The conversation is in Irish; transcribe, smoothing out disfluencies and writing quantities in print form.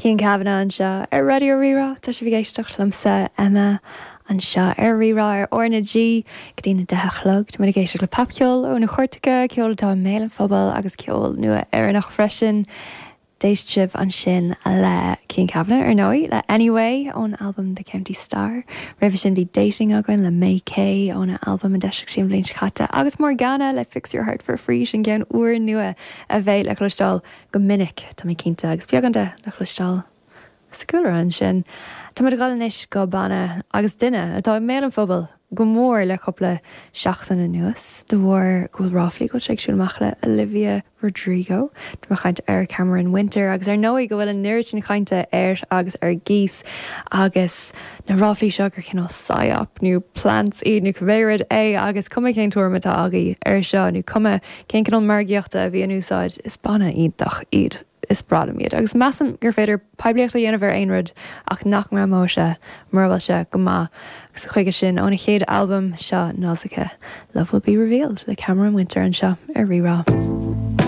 Cian Kavanagh anseo ar Raidió Rí-Rá. Tá sibh ag éisteacht liomsa, Emma, anseo ar Rí-Rá ar R na G go dtí na 10 a chlog. Tá muid ag éisteacht le popcheol ó na cairteacha, ceol atá i mbéal an phobail agus ceol nua Éireannach freisin. D'éist sibh ansin le Cian Kavanagh, ar ndóigh, le Anyway ón albam The County Star. Roimhe sin bhí Dating againn le May Kay óna albam a d'eisigh sí an bhliain seo caite agus Morgana le Fix Your Heart For Free, sin ceann úrnua a bheidh le cloisteáil go minic, tá mé cinnte, agus beagán de le cloisteáil sa gcúlra ansin. Tá muid ag dul anois go banna agus duine atá i mbéal an phobail go mór le cúpla seachtain anuas de bharr go bhfuil ráflaí go bhfuil sé ag siúl amach le Olivia Rodrigo. Tá mé ag caint ar Cameron Winter agus ar ndóigh go bhfuil an oiread sin cainte air agus ar gcíos agus na ráflaí seo gur cineál psyop nó plants iad nó cibé rud é agus cuma cén tuairim atá agaibh air seo nó cuma Cén cineál margaíochta a bhí in úsáid? Is banna iontach iad. Is breá liom iad. Agus measaim gur féidir poiblíocht a dhéanamh ar aon rud ach nach ngreamóidh sé mura bhfuil sé go maith. Agus chuige sin, óna chéad albam seo, Nausicaa, Love Will Be Revealed le Cameron Winter anseo ar Rí-Rá.